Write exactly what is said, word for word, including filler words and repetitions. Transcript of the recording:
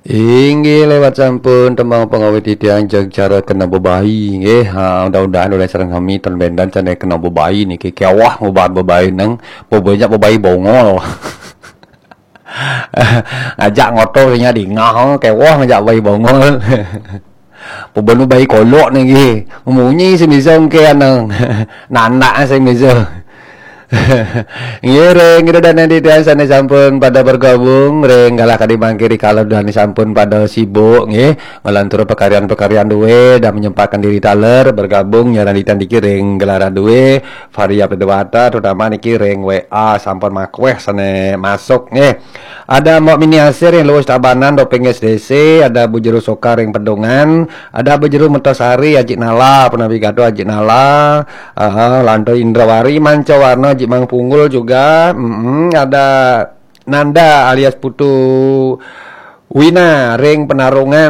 Inggih lewat sampun tembang pengawit titiang jeg cara kena bebayi nggih. Ha, mudah-mudahan oleh sareng sami ten bendan sane kena bebayi niki kewah ngubah bebayi nang bebanyak bebayi bongol. Ngajak ngotor nya dingah kewah ngajak bayi bongol. Pebenu bayi kolok niki. Munyi sing bisa engke anang. Nanak sing bisa. Nggih, ring ida dane titiang sane sampun pada bergabung, ring galah kadi mangke rikala dane sampun pada sibuk nggih, ngelantur pekaryan-pekaryan duwe dan menyempatkan diri taler bergabung nyaran titiang niki ring gelaran duwe, Varia Dewata terutama niki ring W A sampun makweh sane masuk nggih. Ada Mbok Mini Asir ring Luwus Tabanan doping S D C, ada Bu Jero Soka ring Pedungan, ada Bu Jero Mertasari, Ajik Nala, Punawi Gaduh, Ajik Nala, aha, Lanto Indrawari, Manca Warna, Ajik Mang Punggul juga, mm, ada Nanda alias Putu Wina ring Penarungan.